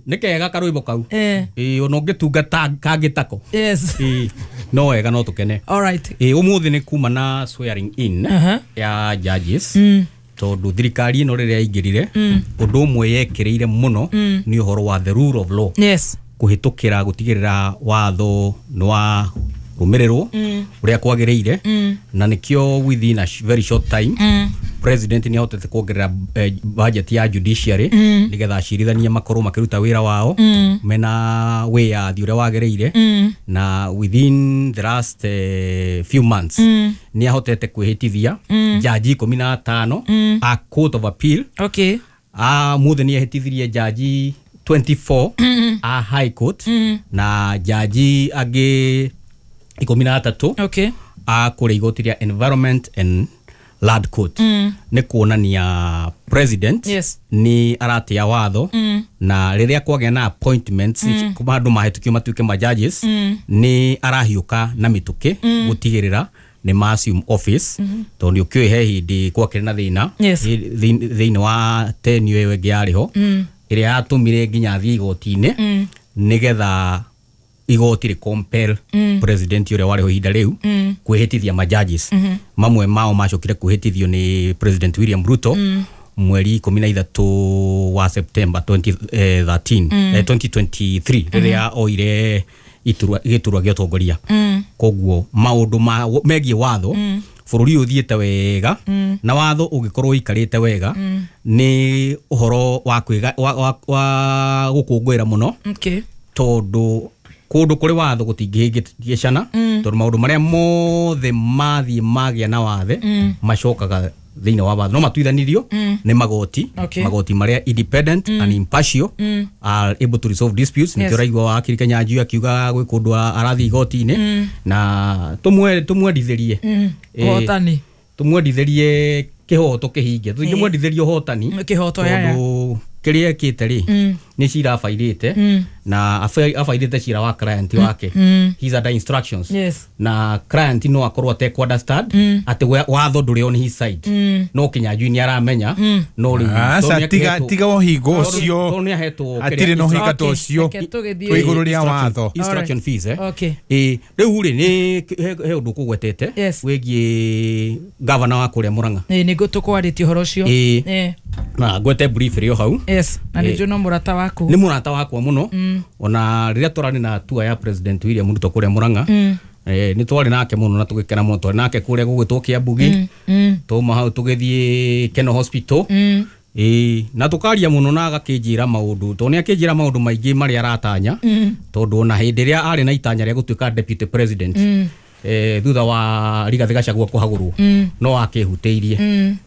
Nĩ kega karwĩmbo kau. Ĩĩ, ona ũngĩtungata kangĩ tako. Ĩĩ, no wega, no tũkene. All right. Ĩĩ, ũmũthĩ nĩ kuma na swearing in ya judges, tondũ thirikari ĩno rĩrĩa yaingĩrire, ũndũ ũmwe yekĩrĩire mũno nĩ ũhoro wa the rule of law, kũhĩtũkĩra gũtigĩrĩra watho nĩ wa rũmĩrĩrwo ũrĩa kwagĩrĩire. Na nĩkĩo within a very short time president nĩ ahotete kuongerera budget ya judiciary, nĩgetha acirithania makorwo makĩruta wĩra wao mena wĩyathi ũrĩa wagĩrĩire. Na within the last few months nĩ ahotete kwĩhĩtithia jaji 15 a Court of Appeal. Mũthĩ nĩ ehĩtithirie jaji 24 a High Court na jaji angĩ 13 a kũrĩa igoti rĩa Environment and Land Court. Nĩ kuonania president nĩ aratĩa watho, na rĩrĩa kwagĩa na appointments kuma andũ mahĩtũkio matuĩke ma judges, nĩ arahiũka na mĩtũkĩ gũtigĩrĩra nĩ ma assume office, tondũ nĩ ũkĩũĩ he hĩndĩ gwakĩrĩ na thĩna thĩinĩ wa tenure ĩyo ĩngĩ yarĩ ho, ĩrĩa yatũmire nginya athiĩ igoti-inĩ, nĩgetha igoti rĩ compel president ũrĩa warĩ ho ihinda rĩu kwĩhĩtithia ma judges. Mamwe mao macokire kwĩhĩtithio nĩ President William Ruto mweri 13 wa September 2013, 2023, rĩrĩa oire iturwa gĩturwa gĩa ũtongoria. Koguo maũndũ ma megiĩ watho, bũrũri ũyũ ũthiĩte wega, na watho ũngĩkorwo ũikarĩte wega nĩ ũhoro wa kwĩga wa gũkũngũĩra mũno, tondũ kũndũ kũrĩ watho gũtingĩhĩngĩcana, tondũ maũndũ marĩa mothe mathiĩ magĩa na wathe macokaga thĩinĩ wa watho, no matuithanirio nĩ magoti, magoti marĩa independent and impartial are able to resolve disputes. Nĩkĩo ũraigua wakiri Kenyanjui akiuga gwĩ kũndũ arathiĩ igoti-inĩ, na tũmwendithĩrie Ũhotani. Tũmwendithĩrie kĩhoto kĩhinge, tũtingĩmwendithĩria ũhotani. Kĩhoto, ya. Tondũ kĩrĩa ekĩte rĩ, nĩ cira abairĩte, na abairĩte cira wa client wake. He's under instructions. Na client no akorwo atekũ understand atĩ watho ndũrĩ on his side, no Kinyanjui nĩ aramenya, no rĩu Aca, tondũ nĩ tiga tiga ũhingo ũcio. Tondũ nĩ ahetwo Hatirĩ na ũhinga ta ũcio. Reke tũgĩthiĩ. Twĩ igũrũ rĩa watho. Instruction fees, eh. Okay. Ĩ, rĩu rĩ, nĩ he ũndũ kũgwetete wĩgiĩ gavana wa kũrĩa Mũrang'a. Ĩĩ, nĩguo tũkwarĩtie ũhoro ũcio. Ĩĩ. Na ngwete brief ĩrĩ o hau. Yes, na nĩ njũĩ no mũrata waku. Nĩ mũrata wakwa mũno. Ona rĩrĩa tũrarĩ na tour ya President William Ruto kũrĩa Mũrang'a, nĩ twarĩ nake mũno na tũgĩkena mũno. Twarĩ nake kũrĩa gũgwĩtwo Kĩambugi, twauma hau tũgĩthiĩ Keno Hospital. Ĩĩ, na tũkaria mũno na agakĩnjĩra maũndũ, tondũ nĩ akĩnjĩra maũndũ maingĩ marĩa aratanya, tondũ ona hĩndĩ ĩrĩa arĩ na itanya rĩa gũtuĩka deputy president, thutha wa Rigathĩ Gachagua kũhagũrwo, no akĩhutĩirie,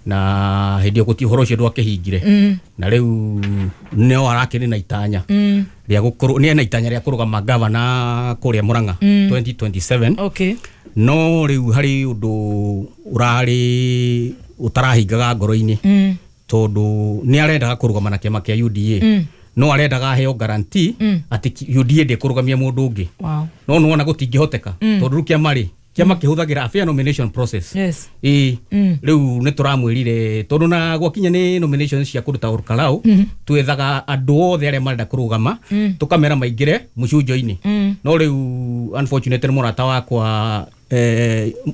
na hĩndĩ ĩyo gũti ũhoro ũcio ndwakĩhingire. Na rĩu no arakĩrĩ na itanya rĩa gũkorwo, nĩ ena itanya rĩa kũrũgama gavana kũrĩa Mũrang'a 2027. No rĩu harĩ ũndũ ũrarĩ ũtarahingaga ngoro-inĩ, tondũ nĩ arendaga kũrũgama na kĩama kĩa UDA, no arendaga aheo guarantee atĩ UDA ndĩkũrũgamia mũndũ ũngĩ. No nĩwona gũtingĩhoteka, tondũ rĩu kĩama rĩ, kĩama kĩhũthagĩra a fair nomination process. Ĩĩ, rĩu nĩ tũramwĩrire, tondũ na gwakinya nĩ nominations cia kũruta Olkalau, twethaga andũ othe arĩa marenda kũrũgama, tũkamera maingĩre mũcunjo-inĩ. No rĩu unfortunately mũrata wakwa,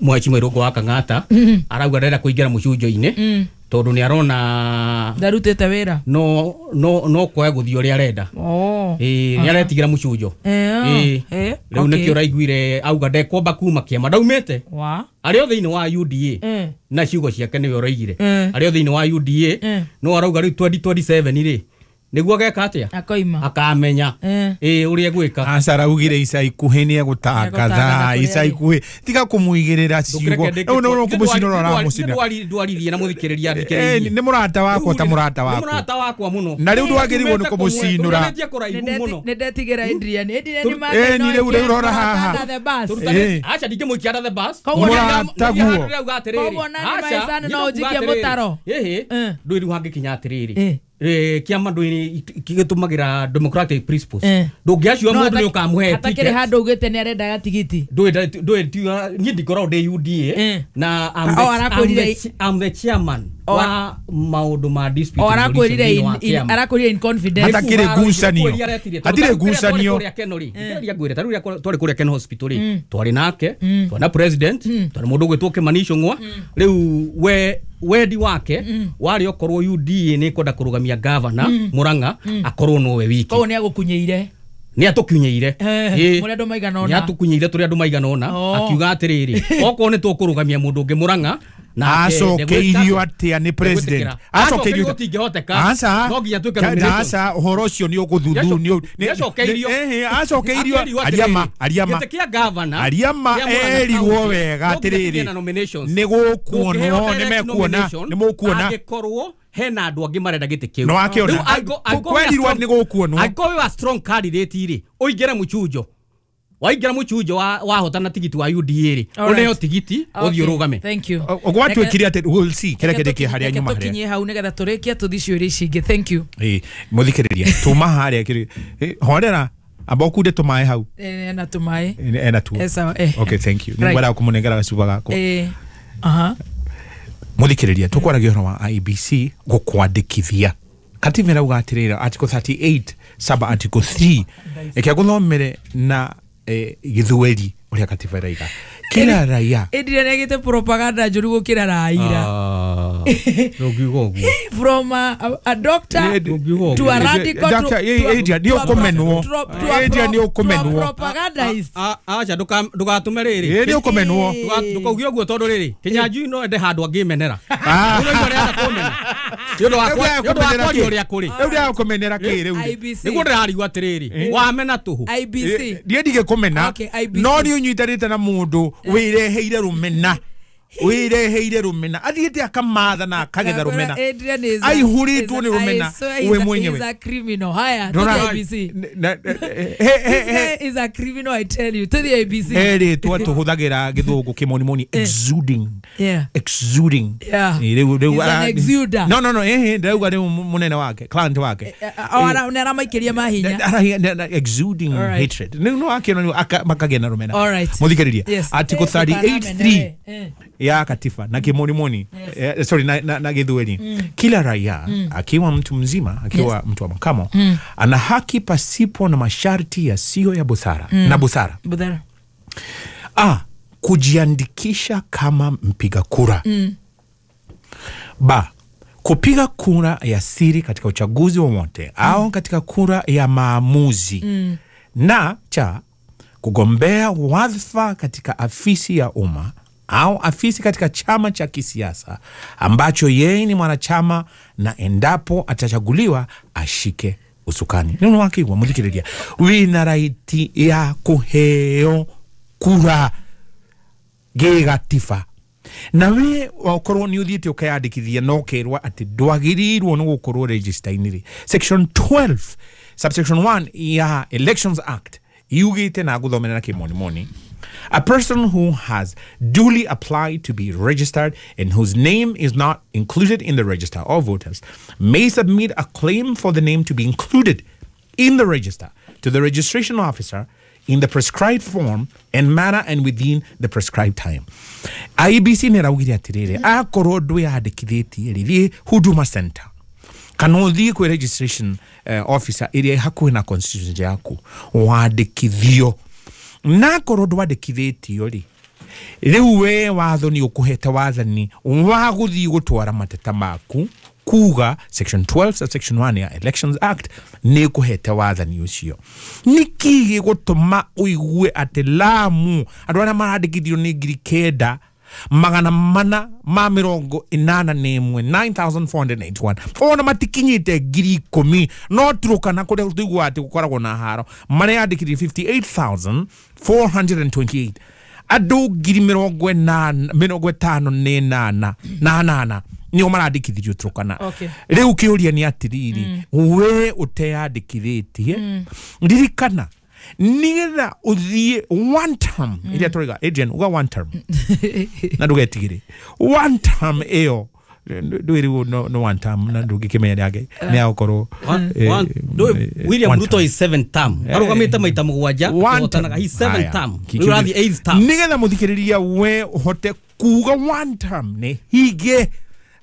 Mheshimiwa Irũngũ wa Kang'ata, arauga ndarenda kũingĩra mũcunjo-inĩ, tondũ nĩ arona Ndarutĩte wĩra. no kwaga gũthiĩ ũrĩa arenda. Ĩĩ, nĩ aretigĩra mũcunjo. Ĩĩ. Rĩu nĩkĩo ũraiguire auga ndekwamba kuma kĩama ndaumĩte, arĩ o thĩinĩ wa UDA. Na ciugo ciake nĩwe ũraigire, arĩ o thĩinĩ wa UDA. No arauga rĩu 2027 rĩ, nĩguo ageka atĩa? Akoima. Akamenya ĩĩ ũrĩa egwĩka. Aca, araugire ica ikuhĩ nĩ egũtangatha. Egũtangatha kũrĩa Ica arĩ. ikuhĩ, tiga kũmũigĩrĩra ciugo. Rĩu nĩ kũmũcinũra ũramũcina. Ndwaririe na mũthikĩrĩria. Eh, nĩ mũrata wakwa, ta mũrata Nĩ waku. mũrata wakwa mũno. Na rĩu ndwagĩrĩirwo nĩ kũmũcinũra. Tũrutanĩtie kũraihu mũno. Nĩ ndetigĩra Adrian. Adrian Eh, ni rĩu rora haha. Tũrutanĩtie- Aca, ndingĩmũikia under the bus. Koguo Mũrataguo. Ndĩrauga atĩrĩrĩ. Koguo na nĩ Aca, maicani no ndĩrauga ũnjikie atĩrĩrĩ. mũtaro. Ĩhĩ, ndũĩ rĩu hangĩkinya atĩrĩrĩ, kĩama ndũĩ gĩtũmagĩra democratic principles. Ndũngĩaciwa mũndũ nĩ ũkamũhe Hatakĩrĩ ticket. handũ ugĩte nĩ arendaga tigiti. Ndũĩ niĩ ndikoragwo ndĩ UDA, na Oh, arakwĩrire- I'm the chairman wa maundu ma dispute. Arakwĩrire in confidence. Hatakĩrĩ ngucanio. Hatirĩ ngucanio. Kĩgeria ngwĩre ta rĩu twarĩ kũrĩa Ken Hospital rĩ, twarĩ nake, twarĩ na president, twarĩ mũndũ ũgwĩtwo Kimani Ichung'wa. Rĩu we wendi wake warĩ okorwo UDA nĩ kwenda kũrũgamia governor Murang'a akorwo nowe wiki. Koguo nĩ agũkunyeire. Nĩ atũkunyeire. Mũrĩ andũ maigana ũna. Nĩ atũkunyeire tũrĩ andũ maigana ũna. Akiuga atĩrĩrĩ, okorwo nĩ tũkũrũgamia mũndũ ũngĩ Murang'a, acokeirio atia ni president acokeirio gũtingĩhoteka. Aca no nginya twĩke nomination. Aca ũhoro ũcio nĩ ũgũthuthurio. Nĩacokeirio. Acokeirio ariama ariama gĩtĩ kĩa governor ariama erirwo wega atĩrĩrĩ nĩ gũkuonwo nĩ mekuona nĩ mũkuona angĩkorwo hena andũ angĩ marenda gĩtĩ kĩu. No akĩona kwerirwo nĩ gũkuonwo. Angĩkorwo wĩ wa strong candidate rĩ, ũingĩre mũchunjo. Waingĩra mũchunjo wahotana tigiti wa UDA rĩ, ũneo tigiti ũthiĩ ũrũgame. Thank you. Gwatuĩkire atĩ we'll see kĩrĩa kĩndĩkĩ harĩa nyuma harĩa. Tũkinyie hau nĩgetha tũrĩkie tũthiĩ ciũria ici ingĩ. Thank you. Mũthikĩrĩria tuma harĩa horera amba ũkunde tũmaĩ hau. Ena tũmaĩ. Ena tuo. Okay, thank you. Nĩngwenda kũmũnengera gacuba gakwa. Mũthikĩrĩria tũkwaragia ũhoro wa IEBC gũkwandĩkithia. Katiba ĩrauga atĩrĩrĩ Article 38 sub Article 3 ĩkĩa gũthomere na gĩthweri ũrĩa katiba ĩraiga kila raia Adrian agite propaganda njũru gũkĩra Raila. Ndũngiuga ũguo. From a doctor to a radical to Adrian nĩ ũkũmenwo. Adrian nĩ ũkũmenwo. Propagandist. Aca ndũgatũme rĩrĩ. Nĩ ũkũmenwo. Ndũkauge ũguo tondũ rĩrĩ Kĩnyanjui no ende handũ angĩmenera. Ũrĩa arenda kũmena. Nĩ ũndũ wa kwaria ũrĩa kũrĩ. Rĩu ndĩrakũmenera kĩ rĩu. Nĩguo ndĩrarigwo atĩrĩrĩ wamena tũhũ. IBC. Ndiĩ ndigĩkũmena. No nĩ ũnyitanĩte na mũndũ wĩreheire rũmena. Wĩreheire rũmena athiĩte akamatha na akagetha rũmena aihũrĩtwo nĩ rũmena we mwenyewe. Is a criminal. Haya, to the IBC. This guy is a criminal, I tell you. To the IBC. Erĩtwo tũhũthagĩra gĩthũngũ kĩmonimoni exuding. Exuding. He's an exuder. No ndĩrauga rĩu mũnene wake, client wake. Nĩ aramaikĩria mahinya. Exuding hatred. No akĩona makagĩa na rũmena. Mũthikĩrĩria Article 38(3) ya katiba na kimonimoni, yes. Sorry na gĩthweri. Kila raia akiwa mtu mzima, akiwa mtu wa makamo, ana haki pasipo na masharti yasiyo ya busara na busara. A, kujiandikisha kama mpiga kura. Ba, kupiga kura ya siri katika uchaguzi wowote au katika kura ya maamuzi. Na cha, kugombea wadhifa katika afisi ya umma au afisi katika chama cha kisiasa ambacho yeye ni mwanachama, na endapo atachaguliwa ashike usukani. Nino wakigwa muthikiriria wina raiti ya kuheo kura gigatiba. Na we wakorwo ni uthiite ukeyandikithia no kerwa ati ndwagirirwo ni gukorwo register-inĩ rĩ. Section 12 subsection 1 ya Elections Act yugite na guthomera na kimonimoni. A person who has duly applied to be registered and whose name is not included in the register of voters may submit a claim for the name to be included in the register to the registration officer in the prescribed form and manner and within the prescribed time. IEBC nĩ raugire atĩrĩrĩ akorwo ndwĩyandĩkithĩtie rĩ, thiĩ Huduma Center kana ũthiĩ kwĩ registration officer ĩrĩa ĩ hakuhĩ na constituency yaku wandĩkithio. Na korwo ndwandĩkithĩtio rĩ, rĩu we watho nĩ ũkũhete wathani wa gũthiĩ gũtwara mateta maku kuga section 12 subsection 1 ya Elections Act nĩ ĩkũhete wathani ũcio. Nĩkĩ gĩgũtũma ũigue atĩ Lamu andũ arĩa marandĩkithio nĩ 9,481 9481 ona matikinyĩte 10,000 no Turkana kũrĩa tũiguaga atĩ gũkoragwo na haro mareyandĩkithirie 58,428 andũ 58,8 nĩo marandĩkithirio Turkana. Rĩu kĩũria nĩ atĩrĩrĩ, we ũteyandĩkithĩtie, ririkana nigetha uthie one term iria tũraiga Adrian uga one term na ndũgetigĩre one term ĩyo ndwĩrĩgwo no one term na ndũngĩkĩmenya nĩ nĩ agũkorwo William Ruto is 7 term arũgamĩte maita mũgwanja akĩhotanaga he 7 term rĩu ũrathiĩ 8 term nigetha mũthikĩrĩria we ũhote kuga one term nĩ hinge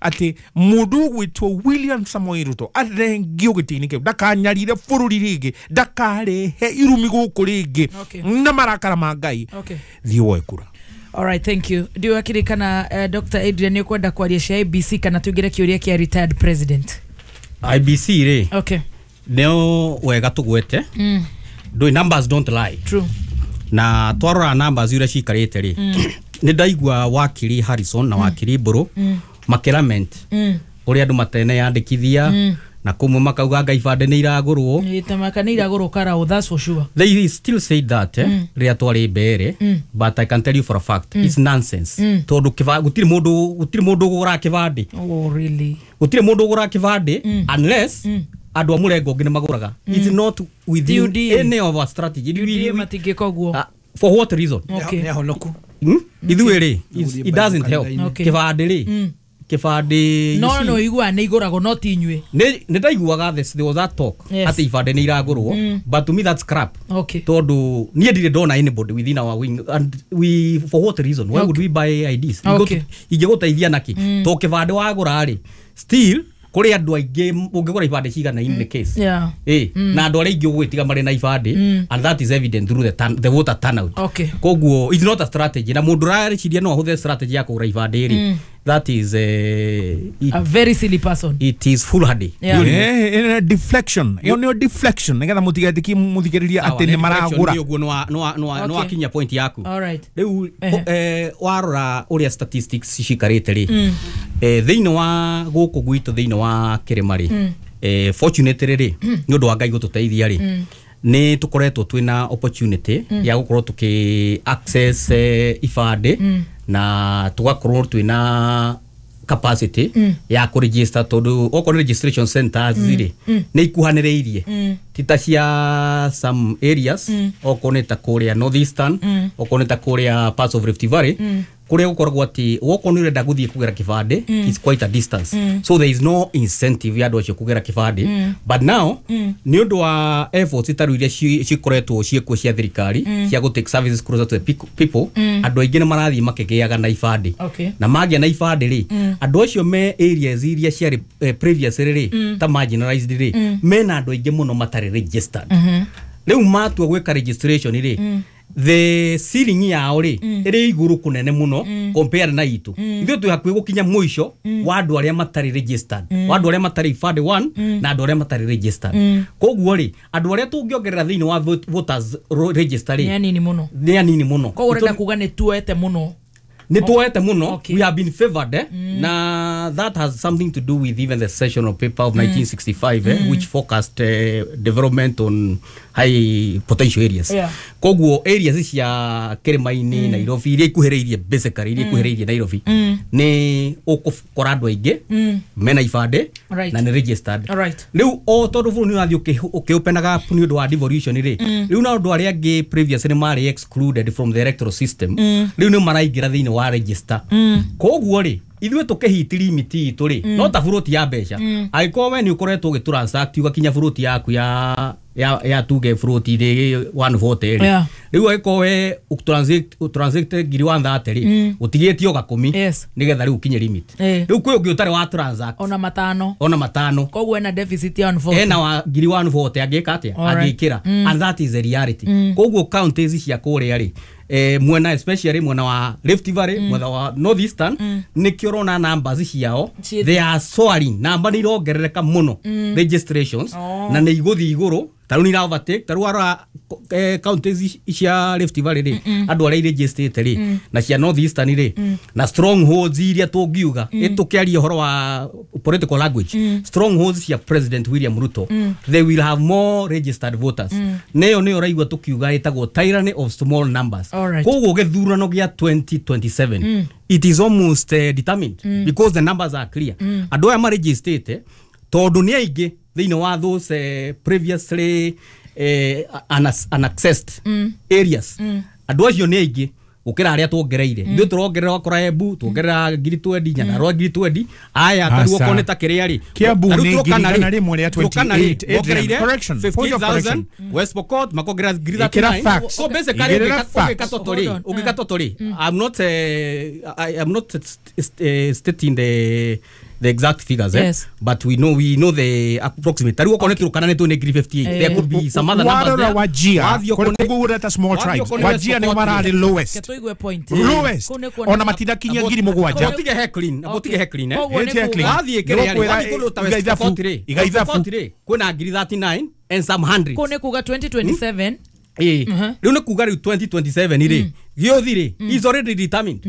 atĩ mũndũ ũgwĩtwo William Samoei Ruto athengio gĩtĩ-inĩ kĩu, ndakanyarire bũrũri rĩngĩ, ndakarehe irumi gũkũ rĩngĩ na marakara ma Ngai. Thiĩ woe kura. All right, thank you. Ndiũĩ akĩrĩ kana Dr. Adrian nĩ ũkwenda kwaria cia IBC kana tuingĩre kĩũria kĩa retired president. IBC rĩ, okay, nĩo wega tũgwete. Ndũĩ, numbers don't lie. True. Na twarora numbers iria cikarĩte rĩ, nĩ ndaigua wakiri Harrison na wakiri Mbũrũ makĩlament ũrĩa andũ mateneyandĩkithia, na kũmwe makauga anga ibandĩ nĩ iragũrwo. Tamaka nĩ iragũrwo karao, that's for sure. They still say that rĩrĩa twarĩ mbere, but I can tell you for a fact it's nonsense. Tondũ gũtirĩ mũndũ ũgũraga kĩbandĩ. Oh really? Gũtirĩ mũndũ ũgũraga kĩbandĩ unless andũ a mũrengo ũngĩ nĩ magũraga. It's not within any of our strategy. UDA matingĩka ũguo. For what reason? Okay. Nĩ ahonoku. Ithuĩ rĩ, it doesn't help. Kĩbandĩ rĩ, kĩbandĩ no igua nĩ igũragwo no ti inyuĩ. Nĩ ndaiguaga there was that talk atĩ ibandĩ nĩ iragũrwo, but to me that's crap. Okay. Tondũ niĩ ndirĩ ndona anybody within our wing, and we, for what reason? Why would we buy IDs? Ingĩgũteithia nakĩ? To kĩbandĩ wagũra rĩ, still kũrĩ andũ aingĩ ũngĩgũra ibandĩ cigana in the case. Na andũ arĩa aingĩ ũgwĩtiga marĩ na ibandĩ, and that is evident through the voter turnout. Okay. Koguo it's not a strategy, na mũndũ ũrareciria no ahũthĩre strategy ya kũgũra ibandĩ rĩ, that is a very silly person. It is foolhardy. Yeah. Deflection. Iyo nĩyo deflection nĩgetha mũtigetĩkie mũthikĩrĩria atĩ nĩ maragũra. Ũguo nĩ wakinya point yaku. All right. Rĩu warora ũrĩa statistics cikarĩte rĩ, thĩinĩ wa gũkũ gwitũ, thĩinĩ wa kĩrĩma rĩ, fortunately rĩ, nĩ ũndũ wa Ngai gũtũteithia rĩ, nĩ tũkoretwo twĩna opportunity ya gũkorwo tũkĩ access ibandĩ, na tũgakorwo twĩna capacity ya kũregister, tondũ okorwo nĩ registration centers rĩ, nĩ ikuhanĩrĩirie, ti ta cia some areas, okorwo nĩ ta kũrĩa Northeastern, okorwo nĩ ta kũrĩa parts of Rift Valley, kũrĩa gũkoragwo atĩ wokorwo nĩ ũrenda gũthiĩ kũgera kĩbandĩ, it's quite a distance. So there is no incentive ya andũ acio kũgera kĩbandĩ. But now nĩ ũndũ wa efforts ta rĩu iria cikoretwo ciĩkuo cia thirikari cia gũ take services closer to the people, andũ aingĩ nĩ marathiĩ makĩgĩaga na ibandĩ. Na magĩa na ibandĩ rĩ, andũ acio me areas iria ciarĩ previously rĩ, ta marginalized rĩ, mena andũ aingĩ mũno matarĩ registered. Rĩu matua gwĩka registration rĩ, the ceiling yao rĩ ĩrĩ igũrũ kũnene mũno compare na itũ. Ithuĩ twĩ hakuhĩ gũkinya mũico wa andũ arĩa matarĩ registered, wa andũ arĩa matarĩ ibandĩ one, na andũ arĩa matarĩ registered. Koguo rĩ, andũ arĩa tũngĩongerera thĩinĩ wa voters register rĩ, nĩ anini mũno. Nĩ anini mũno. Koguo ũrenda kuga nĩ tuoete mũno. Nĩ tuoete mũno. We have been favored, na that has something to do with even the session of paper of 1965, which focused development on high potential areas. Koguo areas cia kĩrĩma-inĩ, Nairobi, iria ikuhĩrĩirie, basically iria ikuhĩrĩirie Nairobi, nĩ ũgũkora andũ aingĩ mena ibandĩ na nĩ registered. Rĩu o tondũ bũrũri nĩ ũrathiĩ ũkĩopenaga nĩ ũndũ wa devolution rĩ, rĩu na andũ arĩa angĩ previously nĩ marĩ excluded from the electoral system, rĩu nĩ maraingĩra thĩinĩ wa register. Koguo rĩ, ithuĩ tũkĩhiti limit itũ rĩ, no ta buroti ya mbeca. Angĩkorwo we nĩ ũkoretwo ũgĩtransact ũgakinya buroti yaku ya tuge buroti rĩ 140 rĩ, rĩu angĩkorwo we ũtransact ngiri 130 rĩ, ũtigĩtie o gakũmi nĩgetha rĩu ũkinye limit. Rĩu kwĩ ũngĩ ũtarĩ wa transact ona matano, koguo ena deficit ya 140, ena wa ngiri 140 angĩka atĩa? Angĩkĩra. And that is the reality. Koguo counties cia kũrĩa rĩ, mwena especially mwena wa Rift Valley, mwena wa Northeastern, nĩkĩo ũrona numbers ciao they are soaring, namba nĩ irongerereka mũno registrations, na nĩ igũthiĩ igũrũ. Ta rĩu nĩ ira overtake, ta rĩu warora counties cia Rift Valley rĩ, andũ arĩa iregistrĩte rĩ, na cia Northeastern rĩ, na strongholds iria tũngiuga, tũkĩaria ũhoro wa political language, strongholds cia President William Ruto, they will have more registered voters. Nĩyo nĩyo ũraigua tũkiuga ĩtagwo tyranny of small numbers. Koguo gĩthurano gĩa 2027 it is almost determined because the numbers are clear. Andũ aya maregistrĩte tondũ nĩ aingĩ thĩinĩ wa those previously unaccessed areas, andũ acio nĩ aingĩ gũkĩra arĩa tuongereire. Ithuĩ tũrongerera wakora Embu, tuongerera ngiri twendi, Nyandarua ngiri twendi, aya ta rĩu okorwo nĩ ta kĩrĩa rĩ, Kiambu nĩ ngiri igana rĩmwe rĩa 28. Adrian, correction, point of correction. 15,000, West Pokot makongerera ngiri 39. So basically ũngĩka total rĩ, I'm not stating the the exact figures, eh? Yes. But we know the approximate. Tariu okorwo nĩ Turkana nĩ tũ nĩ 58. There could be some other numbers there. Warora Wajia kũgũreta small tribes. Wajia nĩ mararĩ lowest. Tũigue point. Lowest. Ona matindakinyia 7,000. Tige heckling, tige heckling, eh. Wathiĩ kĩrĩa rĩ, wathiĩ kũndũ ta West Pokot rĩ. West Pokot rĩ, kwĩna 39 and some hundreds. Kũu nĩ kuga 2027. Rĩu nĩ kuga rĩu 2027 rĩ, gĩothi rĩ is already determined.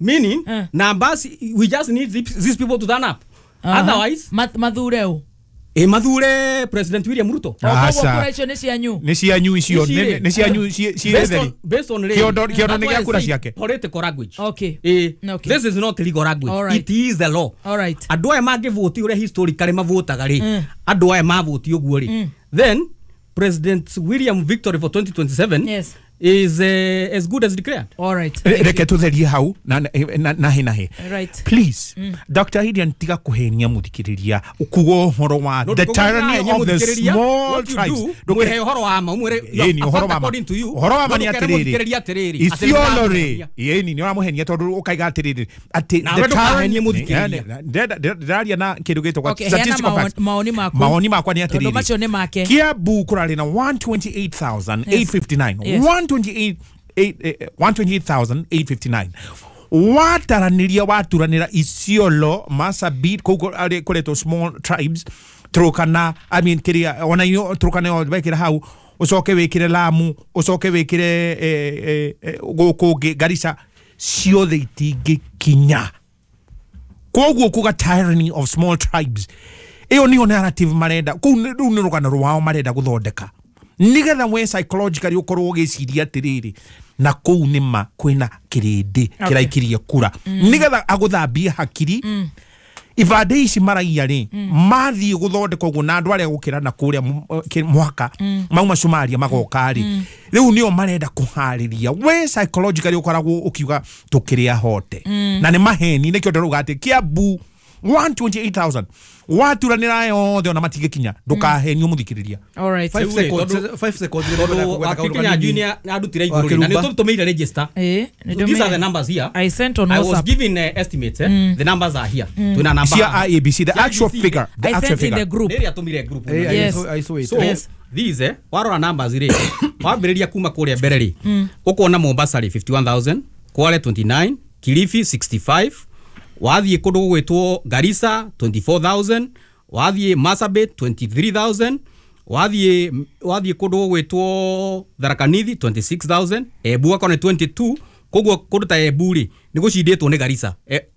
Meaning numbers, we just need these people to turn up. Otherwise mathure u mathure President William Ruto. Koguo icio nĩ cianyu. Nĩ cianyu icio, nĩ cianyu cietheri. Based on kĩondo nĩ gĩa kura ciake. Political language. Okay. This is not legal language. It is the law. All right. Andũ aya mangĩvũti ũrĩa historically mavotaga rĩ, andũ aya mavũti ũguo rĩ, then President William victory for 2027 yes, is as good as declared. All right. Reke tutherie hau na nahe. Right. Please, Dr. Adrian tiga kuhenia muthikiriria ukuga uhoro wa the tyranny of the small tribes. Ndukhe uhoro wa ma umwire according to you. Uhoro wa ma ni atiriri. Isiolo ri. Yeni ni uramuhenia tondu ukaiga atiriri ati the tyranny muthikiriria. Ndiraria na kindu gitagwo statistical facts. Maoni maku. Maoni makwa ni atiriri. Tondu macio ni make. Kiambu kurari na 128,859. 128,859. Wataraniria waturanira Isiolo Marsabit kuu kuretwo small tribes Turkana, I mean kiria ona inyo Turkana wekire hau ucoke wikire Lamu ucoke wikire guku Garissa ciothe itingĩkinya. Koguo kuga tyranny of small tribes iyo niyo narrative marenda kuu rĩu nĩ rũgano rwao marenda gũthondeka nigetha we psychologically ukorwo ugiciria atiriri na kuu nima kwina kirindi kiraikirie kura nigetha aguthambie hakiri ibande ici maraia ri mathie guthondeka uguo na andu aria gukira na kuria mwaka mauma Somalia magoka ri riu nio marenda kuhariria we psychologically ukoragwo ukiuga tukiria hote na ni maheni nikio ndirauga ati Kiambu 128,000 waturanira yothe ona matigĩkinya ndukahenio muthikiriria. All right. 5 seconds 5 seconds Kinya junior arutire iguru na nitutumeire register. These are the numbers here. I sent on WhatsApp. I was given estimates, the numbers are here. Tuna number cia IEBC, the actual figure, the actual figure. I sent in the group. Nĩrĩa tumire group. Yes. I saw it. So these warora numbers ri wambĩrĩria kuma kũrĩa mbere ri ũkona Mombasa ri 51,000, Kwale 29, Kilifi 65, wathiĩ kũndũ gũgwĩtwo Garissa 24,000, wathiĩ Marsabit 23,000, wathiĩ kũndũ gũgwĩtwo Tharaka Nithi 26,000, Embu akorwo nĩ 22, koguo kũndũ ta Embu rĩ nĩ gũcindĩtwo nĩ Garissa.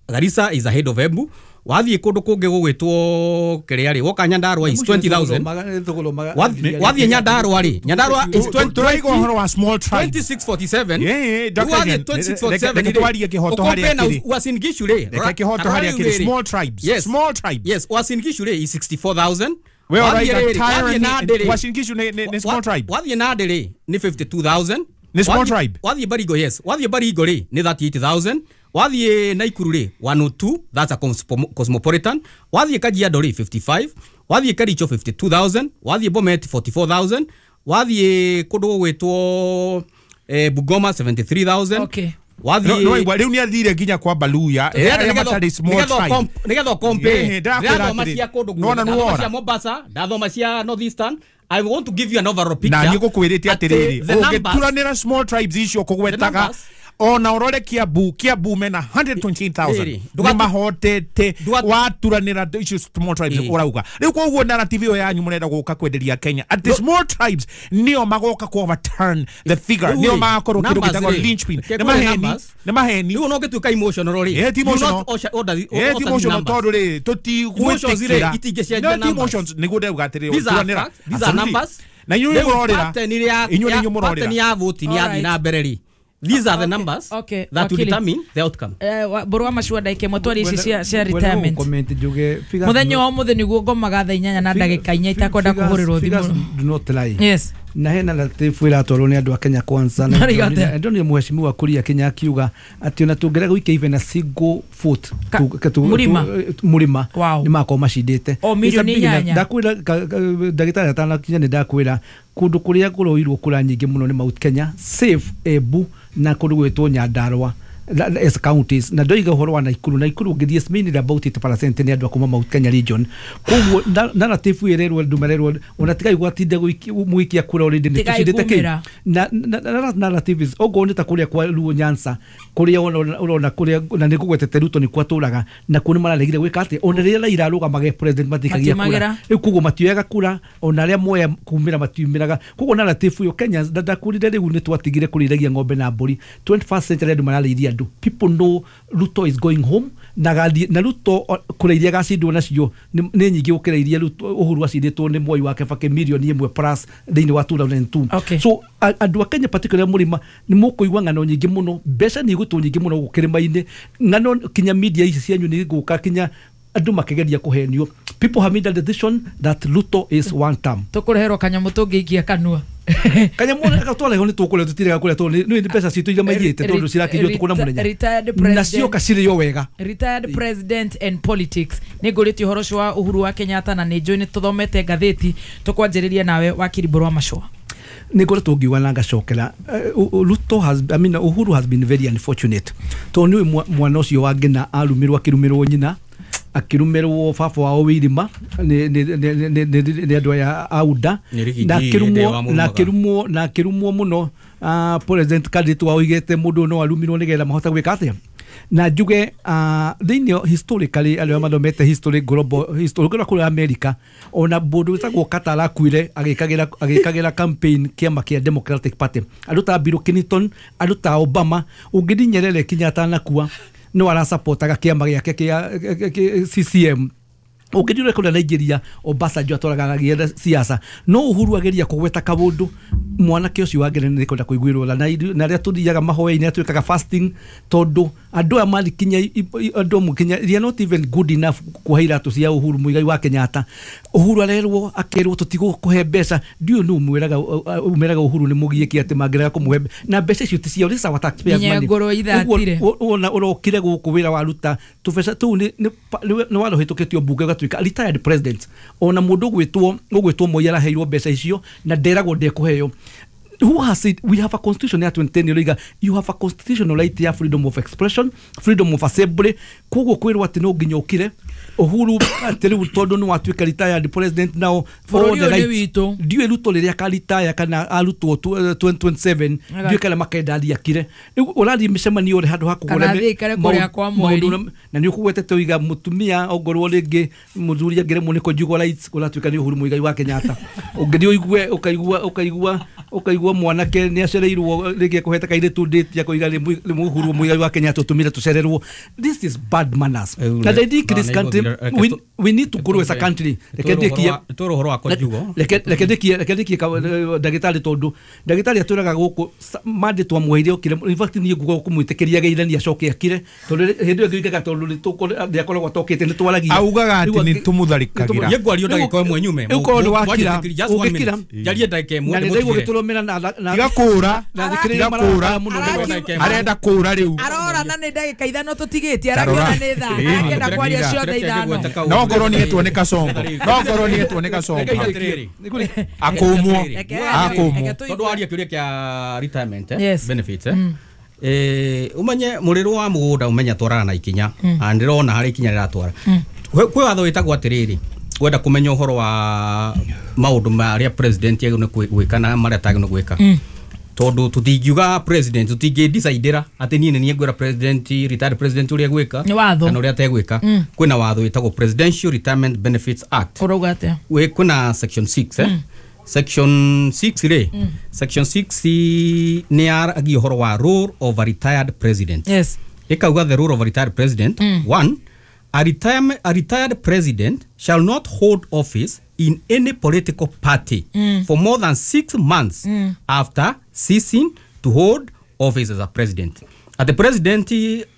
Garissa is ahead of Embu. Wathiĩ kũndũ kũngĩ gũgwĩtwo kĩrĩa rĩ woka Nyandarua is 20,000. Wathiĩ Nyandarua rĩ, Nyandarua is 20, tũraiga ũhoro wa small tribes 2647. Yeah, Dr. Wathiĩ 2647 reke twarie kĩhoto harĩa kĩrĩ. Uasin Gishu rĩ, reke kĩhoto harĩa kĩrĩ, small tribes. Yes. Small tribes. Yes, Uasin Gishu rĩ is 64,000. We ũraiga tyranny Uasin Gishu ni small tribe. Wathiĩ Nandi rĩ ni 52,000. Ni small tribe. Wathiĩ Baringo, yes. Wathiĩ Baringo rĩ ni 38,000. Wathiĩ Naikuru rĩ 102, that's a cosmopolitan. Wathiĩ Kajiado rĩ 55, wathiĩ Kericho 52,000, wathiĩ Bomet 44,000, wathiĩ kũndũ gũgwĩtwo Bungoma 73,000. Okay. Wathiĩ no rĩu nĩ athire nginya kwa Baluya arĩa matarĩ small tribe nigetha ũkompe. Ndathoma cia kũndũ guothe, ndathoma cia Mombasa, ndathoma cia North Eastern. I want to give you an overall picture. Na nĩngũkwĩrĩte atĩrĩrĩ, ũngĩturanĩra small tribes icio kũgwetaga ona urore Kiambu, Kiambu mena 128,000 nĩ mahotete waturanĩra icio small tribes ũrauga. Rĩu koguo narrative ĩyo yanyu mũrenda gũka kwenderia Kenya atĩ small tribes nĩo magoka ku overturn the figure, nĩo magakorwo kĩndũ gĩtagwo linchpin. Nĩ maheni, nĩ maheni. Rĩu no ũngĩtuĩka emotional rĩ, ti emotional, ti emotional tondũ rĩ tũtigwĩtĩkĩra no ti emotions nĩguo ndauga atĩrĩrĩ ũturanĩra. These are numbers na inyuĩ mũrorĩra, inyuĩ nĩ mũrorĩra pattern ya vote nĩ yathiĩ na mbere rĩ. These are the numbers that will determine the outcome. Borwa macua ndaike motwari ici cia retirement. Muthenya wa umuthi niguo ngomaga thaa 8 na ndagika 4 itakwenda kuhurirwo thimu. Do not lie. Yes. Na hena narrative iratwarwo nĩ andũ a Kenya Kwanza na ndonire mheshimiwa Kuria Kenya akiuga atĩ ona tũngĩrega gũikia even a single vote mũrima nĩ makorwo macindĩte. O milioni 8. Ndakwĩra ndagĩtarĩ atanakinya nĩ ndakwĩra kũndũ kũrĩa kũroirwo kura nyingĩ mũno nĩ Mount Kenya, Safe, Embu na kũndũ gwĩtwo Nyandarua. as counties na ndoiga ũhoro wa Nakuru ũngĩthiĩ mainly about 80% nĩ andũ a kuma Mount Kenya region. Koguo narrative ĩrerwo andũ marerwo ona tigai gwatinda mũgĩikia kura already nĩ tũcindĩte kĩ na narrative is ogo nĩ ta kũrĩa kwa Luo Nyanza kũrĩa ũrona kũrĩa na nĩ ngũgwetete Ruto nĩ kwatũraga na kuo nĩ mararegire gwĩka atĩ ona rĩrĩa Raila arũgamage president matikagia kura rĩu koguo matioyaga kura ona arĩa moya kumĩra matiumĩraga. Koguo narrative ĩyo Kenya ndakurire rĩu nĩ twatigire kũrĩithagia ng'ombe na mbũri 21st century andũ mararĩithia andũ. People know Ruto is going home na na Ruto kura iria gacindwo nacio nĩ nyingĩ gũkĩra iria Uhuru acindĩtwo nĩ Moi wa Kibaki mirioni ĩmwe plus thĩinĩ wa 2002. Okay. So andũ a Kenya particularly mũrĩma nĩ mũkũigua ng'ano nyingĩ mũno, mbeca nĩ igũtwo nyingĩ mũno gũkũ kĩrĩma-inĩ, ng'ano kinya media ici cianyu nĩ igũka kinya andũ makĩgeria kũhenio. People have made a decision that Ruto is one term. Tũkũreherwo kanyamũ tũngĩikia kanua kanyamũ gatwareho nĩ tũkũrĩa tũtirega kũrĩa tondũ nĩ mbeca citũ iria maiyĩte tondũ cirakinyio tũkũ na mũthenya na cioka cirĩo wega. Retired president and politics nĩ ngũrĩtie ũhoro ũcio wa Uhuru wa Kenyatta na nĩ njũĩ nĩ tũthomete ngathĩti. Tũkwanjĩrĩria nawe wakiri Mbũrũ wa Machũa. Nĩ ngoretwo ngiuga na ngacokera Ruto has, I mean, Uhuru has been very unfortunate tondũ nĩ mwana ũcio wa Ngina arumirwo akĩrumĩrwo nyina akĩrumĩrwo baba wao Wirima nĩ andũ aya a UDA na akĩrumwo mũno. President candidate wao oigĩte mũndũ no arumirwo nĩgetha mahote gwĩka atĩa. Na njuge thĩinĩ historically arĩa mathomete history global history ũngĩrora kũrĩa America ona mũndũ wĩtagwo Carter arakuire agĩkagĩra campaign kĩama kĩa Democratic Party, andũ ta Bill Clinton, andũ ta Obama, ũngĩthiĩ Nyerere kinya atanakua no arasapotaga kĩama gĩake kĩa CCM. Ũngĩthiĩ kũrĩa Nigeria Obasanjo atwaraga agĩetha siasa. No Uhuru ageria kũgweta kaũndũ mwanake ũcio wa Ngeretha nĩ kwenda kũiguĩrwo tha na arĩa tũthiaga mahoya-inĩ twĩkaga fasting tondũ andũ aya marĩ kinya andũ amwe kinya they are not even good enough kuoha iratũ cia Uhuru Muigai wa Kenyatta. Uhuru arerwo akerwo tũtigũkũhe mbeca, ndiũĩ nũ ũmwĩraga Uhuru nĩ mũgiĩki atĩ mangĩrega kũmũhe na mbeca icio ti ciao, this is our taxpayers money. Ũguo ũrokire gũkũ wĩra waruta tũbeca tũu nĩ warũhĩtũkĩtio mbunge ũgatuĩka retired president. Ona mũndũ ũgwĩtwo Moi araheirwo mbeca icio na nderagwo ndekũheo. Who has it? We have a constitution ya 2010 you have a constitutional right ya freedom of expression, freedom of assembly. Koguo kwirwo atĩ no nginya ũkire Uhuru atĩ rĩu tondũ nĩ watuĩka retired president now for all the rights. Ndiũĩ Ruto rĩrĩa akaritaya kana arutwo 2027 ndiũĩ kana makenda athiĩ akire. Rĩu ũrathiĩ mĩcemanio ũrĩ handũ ha kũgũra maũndũ na nĩ ũkũgwetete ũiga mũtumia ongorwo rĩngĩ mũthuri angĩremwo nĩ conjugal rights ũratuĩka nĩ Uhuru Muigai wa Kenyatta. Ũngĩthiĩ ũigue ũkaigua mwanake nĩ acereirwo rĩngĩ ekũhete kairĩtu date akoiga nĩ Uhuru Muigai wa Kenyatta ũtũmire tũcererwo. This is bad manners. And I think this country we need to grow as a country. Reke ndikie ndagĩtarĩ tondũ ndagĩtarĩ atwĩraga gũkũ mandĩ twamũheire okire, in fact niĩ nguga kũmwĩtĩkĩria geithania acoke akire tondũ hĩndĩ ĩyo ngĩugaga tondũ nĩakoragwo atokĩte nĩ twaragia augaga atĩ nĩ tũmũtharĩkagĩra. Niĩ ngwario ndagĩka ĩmwe nyume rĩu korwo nĩ wakira ũngĩkira njarie ndagĩka ĩmwe na nĩ ndaigua gĩtũrũmĩra na tiga kũra arenda kũra rĩu arora na nĩ ndagĩka ithano tũtigĩtie arakiona nĩ thaa akĩenda kwaria ciothe ithano no ngorwo nĩ etwo nĩ Kasongo akũmwo tondũ waria kĩũria kĩa retirement benefits umenye mũrĩrũ wa mũgũnda ũmenye atwaraga na ikinya na ndĩrona harĩa ikinya rĩratwara. Kwĩ watho wĩtagwo atĩrĩrĩ wenda kũmenya ũhoro wa maũndũ marĩa president agĩrĩirwo nĩ gwĩka na marĩa atagĩrĩirwo nĩ gwĩka tondũ tũtingiuga president tũtingĩdecidĩra atĩ niĩ nĩ niĩ ngwĩra president retired president ũrĩa egwĩka kana ũrĩa ategwĩka. Kwĩna watho wĩtagwo Presidential Retirement Benefits Act. Ũrauga atĩa? Kwĩna section 6 section 6 rĩ section 6 nĩ yaragia ũhoro wa role of a retired president. Yes. Ĩkauga the role of a retired president. 1 a retired president shall not hold office in any political party for more than 6 months after ceasing to hold office as a president. At the president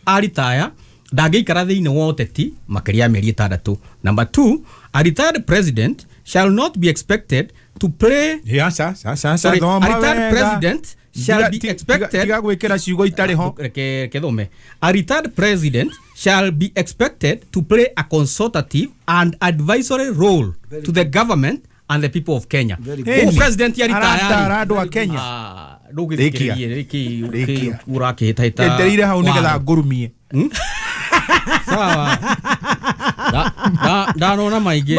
aritaya ndangĩikara thĩinĩ wa ũteti makĩria ya mĩeri ĩtandatũ. Number 2, a retired president shall not be expected to play. Sorry, a retired president shall be expected. A retired president shall be expected to play a consultative and advisory role to the government and the people of Kenya. Koguo president ya aratara andũ a Kenya. Ndũgĩthikĩrĩrie rĩkĩ ũrakĩhĩtahĩta etereire hau nĩgetha ngũrumie. Sawa. Ndanona maingĩ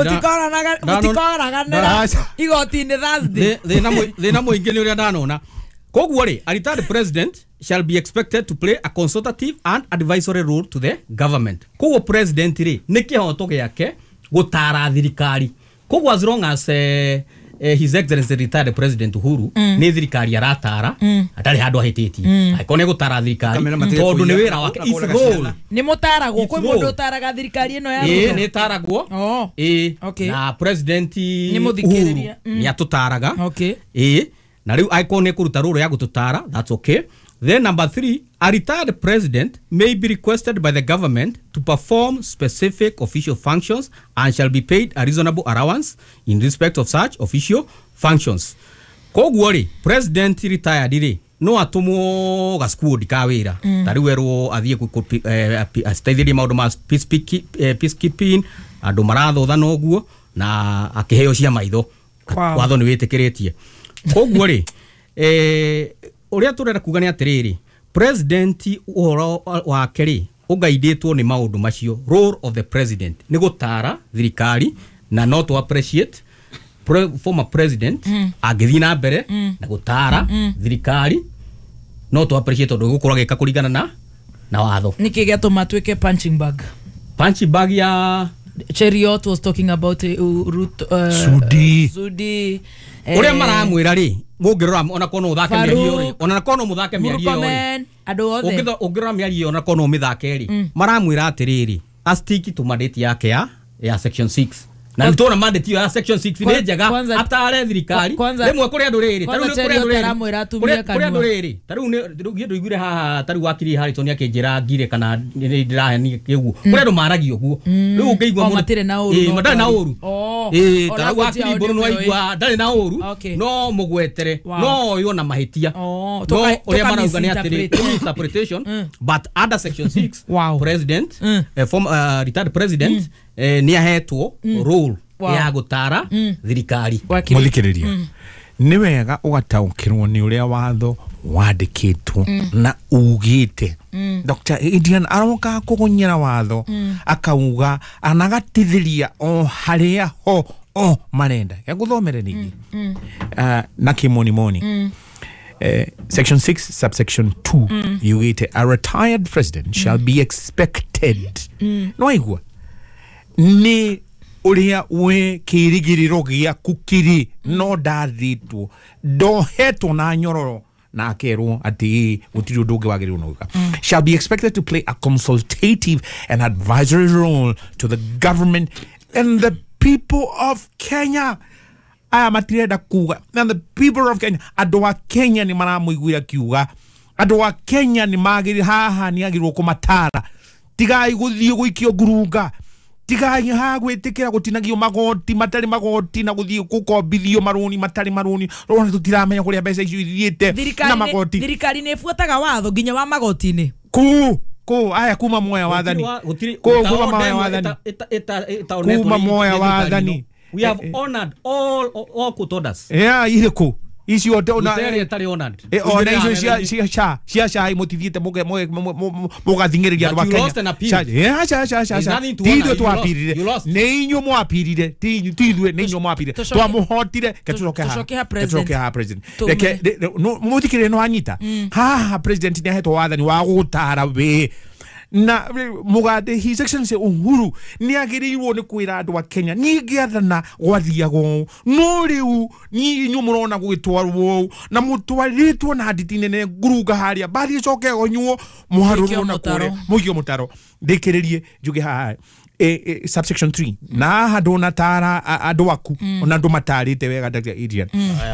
mũtikoraganĩra igoti-inĩ Thursday. Thĩna mũingĩ nĩ ũrĩa ndanona. Koguo rĩ, a retired president shall be expected to play a consultative and advisory role to the government. Koguo president rĩ, nĩ kĩhoto gĩake gũtara thirikari. Koguo as long as His Excellency retired President Uhuru nĩ thirikari aratara, atarĩ handũ ahĩtĩtie. Angĩkorwo nĩ gũtara thirikari tondũ nĩ wĩra wake, it's role. Nĩ mũtaragwo, kwĩ mũndũ ũtaraga thirikari ĩno ya Ruto? Nĩ ĩtaragwo. Na President Uhuru nĩ atũtaraga. Na rĩu angĩkorwo nĩ kũruta rũrũ ya gũtũtara, that's okay. Then number 3, a retired president may be requested by the government to perform specific official functions and shall be paid a reasonable allowance in respect of such official functions. Koguo rĩ, president retired rĩ, no atũmwo gaskuodi ka wĩra. Ta rĩu erwo athiĩ aciteithĩrie maũndũ ma peacekeeping, andũ marathothana ũguo, na akĩheo cia maitho. Watho nĩ wĩtĩkĩrĩtie. Koguo rĩ, ũrĩa tũrenda kuga nĩ atĩrĩrĩ, president ũhoro wake rĩ ũgaidĩtwo nĩ maũndũ macio. Role of the president nĩ gũtara thirikari, na no to appreciate former president angĩthiĩ na mbere na gũtara thirikari, no to appreciate tondũ gũkorwo agĩka kũringana na watho. Nĩkĩ gĩatũma tuĩke punching bag? Punching bag ya Cheriot was talking about Ruto, Sudi. Ũrĩa maramwĩra rĩ, ũngĩrora ona korwo no ũthake mĩario rĩ, ona korwo no mũthake mĩario rĩ, andũ othe ũngĩrora mĩario ona korwo no ũmĩthake rĩ, maramwĩra atĩrĩrĩ, astiki to mandate yake ya section 6. Na nĩ tuona mandate ya section 6 nĩ njega, atare thirikari rĩmwe kũrĩ andũ rĩrĩ, ta rĩu kũrĩ andũ rĩrĩ, kũrĩ andũ rĩrĩ, ta rĩu nĩ ndũiguire haha, ta rĩu wakiri Harrison akĩnjĩra ngire kana nĩ ndĩrahenia kĩguo, kũrĩ andũ maragia ũguo. Rĩu ũngĩigua mũndũ matirĩ na ũru, matarĩ na ũru, ta rĩu wakiri Mbũrũ nĩ waigua ndarĩ na ũru, no mũgwetere, no oywo na mahĩtia, no ũrĩa marauga nĩ atĩrĩ interpretation, but under section 6 president, former retired president nĩ ahetwo role ya gũtara thirikari. Mũthikĩrĩria, nĩ wega ũgataũkĩrwo nĩ ũrĩa watho wandĩkĩtwo na ugĩte. Dr. Adrian aroka kũgũnyĩra watho, akauga anagatithĩria o harĩa ho o marenda. Gũthomere ningĩ na kĩmonimoni. Section 6 subsection 2 yugĩte a retired president shall be expected. No aigua nĩ ũrĩa we kĩrĩgĩrĩro gĩaku kĩrĩ, no ndathĩtwo, ndohetwo na nyororo na akerwo atĩ gũtirĩ ũndũ ũngĩ wagĩrĩirwo nĩ gwĩka. Shall be expected to play a consultative and advisory role to the government and the people of Kenya. Aya matirenda kuga and the people of Kenya, andũ a Kenya nĩ maramũiguĩra kiuga, andũ a Kenya nĩ magĩrĩ haha nĩ agĩrĩirwo kũmatara, tigai gũthiĩ gũikio ngurunga, tigai ha gwĩtĩkĩra gũtinagio magoti matarĩ magoti na gũthiĩ gũkombithio marũni matarĩ marũni, rona tũtiramenya kũrĩa mbeca icio ithiĩte na magoti. Thirikari nĩ ĩbuataga watho nginya wa magoti-inĩ. Kũ aya kuma moya wathani, kuma moya wathani, kuma moya wathani. We have honored all court orders. Yeah, irĩkũ icio ona ona icio cia cai mũtithiĩte mũgathing'ĩrĩria andũ a Kenya. Ti ithuĩ twapirire, nĩ inyuĩ mwapirire, ti ithuĩ, nĩ inyuĩ mwapirire, twamũhotire. Ke tũcoke haha president. Reke mũthikĩrĩrie nĩ wanyita haha, president nĩ ahetwo wathani wa gũtara wĩ na mũgathe His Excellency Uhuru nĩ agĩrĩirwo nĩ kwĩra andũ a Kenya niĩ ngĩathana gwathiaga ũũ, no rĩu niĩ inyuĩ mũrona gũgĩtwarwo ũũ na mũtwarĩtwo na nditi nene ngurunga harĩa mbathi ĩcoke ĩgonywo mũharũrwo na kũrĩa mũikio mũtaro. Ndĩkĩrĩrie njuge haha subsection 3 na haha ndũnatara andũ aku ona ndũmatarĩte wega Dr. Adrian,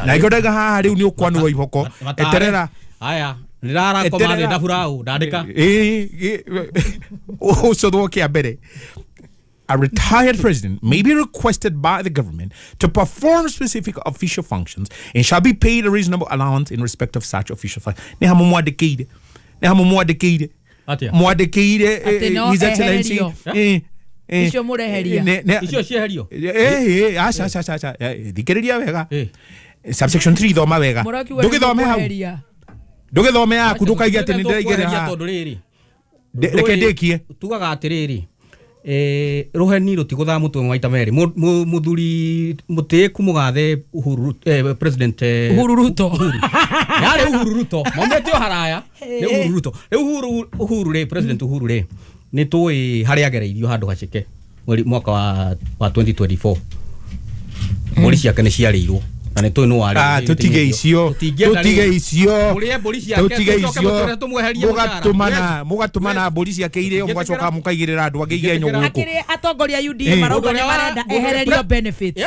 na ikĩo ndauga haha rĩu nĩ ũkwanũrwo iboko eterera aya nĩrarakoma thĩ ndaburaũ ndandĩka ũcũthwo kĩa mbere. A retired president may be requested by the government to perform specific official functions and shall be paid a reasonable allowance in respect of such official functions. Nĩ hamwe mwandĩkĩire, nĩ hamwe mwandĩkĩire, mwandĩkĩire His Excellency Icio mureheria. Icio cieherio. Acha acha. Thikĩrĩria wega. Subsection 3 thoma wega. Ndũgĩthome hau. Ndũgĩthome yaku ndũkaige atĩ nĩndĩraigĩrĩra haha. Tondũ rĩrĩ. Reke ndĩkie. Tugaga atĩrĩrĩ. Rũheni rũtigũthaa mũtwe maita merĩ. Mũthuri mũtĩĩku mũgathe Uhuru President Uhuru Ruto. Yarĩ Uhuru Ruto. Maumĩte o haraya. Nĩ Uhuru Ruto. Rĩu Uhuru rĩ President Uhuru rĩ nĩ tũĩ harĩa agereirio handũ haceke mwaka wa 2024. Mbũri ciake nĩ ciarĩirwo. Na nĩ tũĩ nũ warĩ. Tũtige icio. Tũtige icio. Mũrĩe mbũri ciake. Tũtige icio. Mũgatũmana mũgatũmana mbũri ciake irĩo mũgacoka mũkaigĩrĩra andũ angĩ igenyo gũkũ. Akĩrĩ atongoria UDA marauga nĩ marenda ehererio benefits.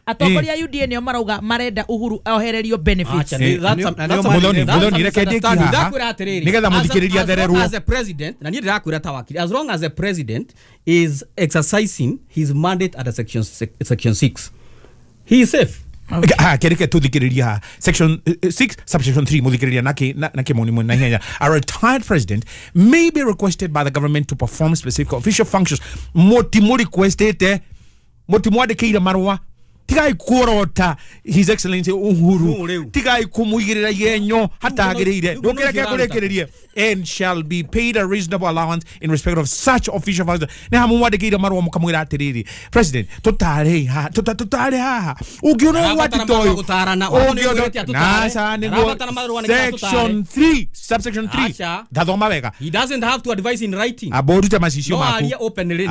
Atongoria UDA nĩo marauga marenda Uhuru ohererio benefits. Muthoni reke ndĩkie haha. Nĩgetha mũthikĩrĩrie thererwo. As a president, na niĩ ndĩrakwĩra ta wakiri, as long as a president is exercising his mandate under section 6, he is safe. Kereke tuthikiriria haha. Section 6 subsection 3 muthikiriria na kimoni mwena ihenya. A retired president may be requested by the government to perform specific official functions. Motimu requestete motimwandĩkĩire marũa. Tigai kuorota His Excellency Uhuru. Tigai kumuigirira igenyo hatagiriire. Ndũkĩreke ngũrĩkĩrĩrie. And shall be paid a reasonable allowance in respect of such official functions. Nĩ hamu mwandĩkĩire marũa mũkamwĩra atĩrĩrĩ, President, tũtare haha, tũtare haha. Ũngĩona ũgwati ta ũyũ, section 3, subsection 3. Ndathoma wega. He doesn't have to advise in writing. Aborute macicio maku. No arie openly.